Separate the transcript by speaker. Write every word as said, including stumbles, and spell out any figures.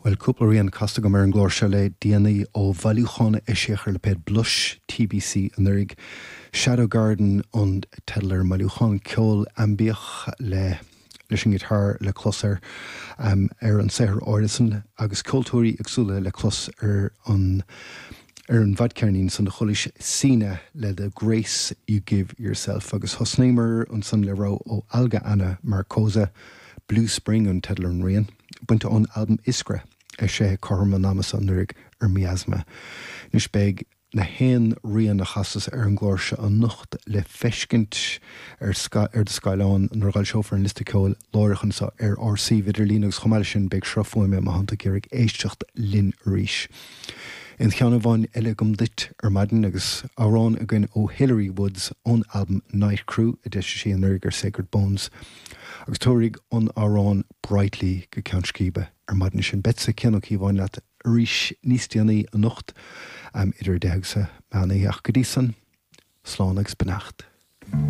Speaker 1: Bhuel cúpla rian casta agam ar an gclár seo le déanaí ó bhailiúchán a eisíodh ar lipéad Blush TBC anuraidh. Shadow Garden an teideal ar an mbailiúchán ceol aimbiach le leis an ngiotár le clos ar um, ar an saothar áirithe san agus ceoltóirí éagsúla le clos ar an ar an bhfadcheirnín san do chualais Sina le The Grace You Give Yourself agus thosnaíomar ansan le rogha ó Alga Ana Markoza Blue Spring an teideal ar an rian, bainte ón albam Iskra eisithe cothrom an ama anuraidh ar Miasma. Anois beidh na haon rian a chasas ar an gclár seo anocht le feiscint ar ar do scáileán nuair a fhoilseofar an liosta ceoil láithreach anseo ar ár suíomh idirlín agus chomh maith leis sin beidh sruth fuaime má tá tú ag iarraidh éisteacht linn arís. Aon cheann amháin eile agam duit ar maidin agus amhrán againn ó Hilary Woods ón albam Night Crew a d'eisigh sí anuraidh ar Sacred Bones. agus tabharfaidh an amhrán Brightly go ceann scríbe ar maidin sin beidh Cian Ó Cíobháin leat arís níos déanaí anocht um, idir deich agus a meán ach go dtí san slán agus beannacht.